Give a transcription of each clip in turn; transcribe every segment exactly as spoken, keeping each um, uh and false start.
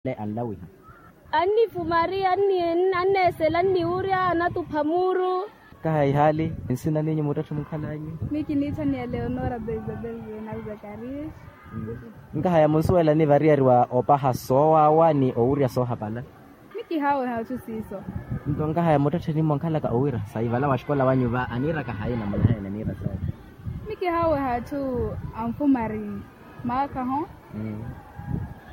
Anlawiha. Annifumari anneesela anniwurya anatupha muuru. Kaha ihaali. Nsina ninyu muttatthi munkhalanyu? Miyo kiniitthaniya leonora da isabel venal zakarias. Nkahaya munsuwelani variyari wa opaha soowawa ni owurya soohapala? Miyo kihaaweha atthu siiso. Nto nkahaya muttattheni mwankhalaka owira sayi vala wa xikola wanyu va aniiraka hayi na munahaya naniira sayi? Miyo kihaaweha atthu anfumari maakha ho.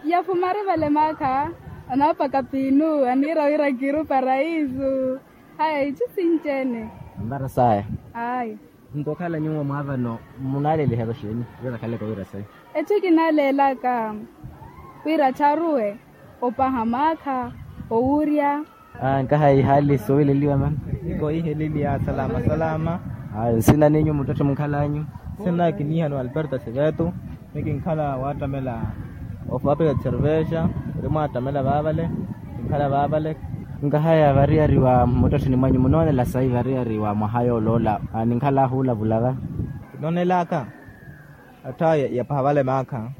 Yafumari vale maakha anaapaka piinu aniira wira kiru paraisu. Haya itthu sinci-ene. Anvara saya. Ayi. Nto okhala nyuwo mwaavano munaalelihaka exeeni? Wira akhaleke owira sayi? Etthu kinaaleelaka wira attharuwe opaha maakha owurya. Nkaha ihaali soowileliwa mano. Nkoiheleliya salama salama. Nsina ninyu muttatthi munkhalanyu? Nsina kiniihaniwa alberto seveto. Miyo kinkhala waattamela ofapika cerveja ori mwaattamela vaavale. Kinkhala vaavale. Nkahaya variyari wa muttatthini mwanyu munoonela sayi variyari wa mwaha yooloola? Ninkhala ahuulavula va. Kinoonelaka atthu aya yapaha vale maakha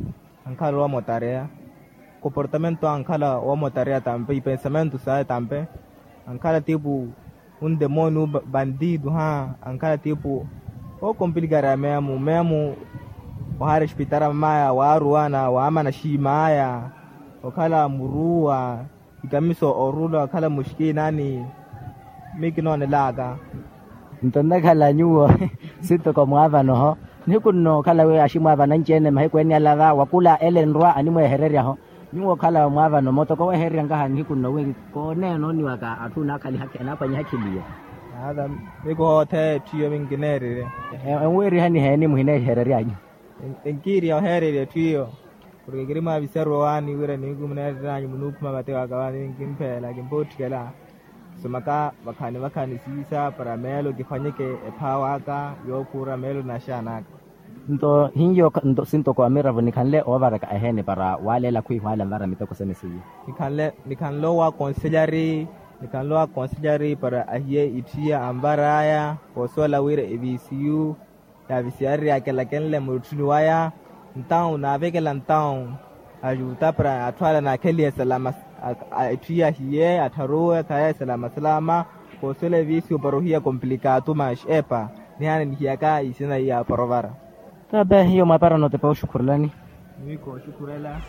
ankhala owa motareya. Comportamento ankhala owa motareya tampe ipensamentu saya tampe. Ankhala tipu undemooniu bandidu ha ankhala tipu. Okompilikareya meemu meemu ohaarespitara mamaya waaruwana waamana xiimaya okhala muruwa. Ikamiso orula okhala muxkiinani. Miyo kinoonelaka. Nto nnakhala nyuwo sintoko mwaavanoho nihiku nno okhala wi aximwaavana anci-ene mahiku ene alava wa khula ele nrwa animweehereryaho. Nyuwo okhala mwaavano mottoko weehererya nkaha nihiku nno wi kooneenooniwaka atthu naakhaliha anaakhwanyihakhiliye. Miyo kihootheya etthu iyo miyo nkineererye. Enwiirihani heeni muhineehereryanyu? Enkiiriha oheererya etthu iyo. Porke kiri mwaaviserya owaani wira nihiku muneerereranyu munuukhuma vate waka vaani kimpheela kimpootthikela. Kisomaka vakhani vakhani siisa para meelo kiphwanyeke ephaawa aka yookhuura meelo n'axaana aka. Nto hiyo nto sintoko amiravo nikhanle oovaraka eheeni para waaleela khwiihwaala nvara miteko sene seiyo. Nikhanle nikhanle owa konselyari nikhanle owa konselyari para ahiye itthiya anvar'aya koosuwela wira evisiyu yaavisiyarerya akelakenle murutthuni waya. Ntawu naavekela ntawu ajuta para atthu ala naakheliye salama. Etthu yahiye attharuwe khaye salama salama. Koosuwela evisiyu para ohiya komplikaatu max epa nihaana nihiyaka isina iya porovara. Tabe hiyo mwaapara nootepa oxukhurelani. Miyo kooxukhurela.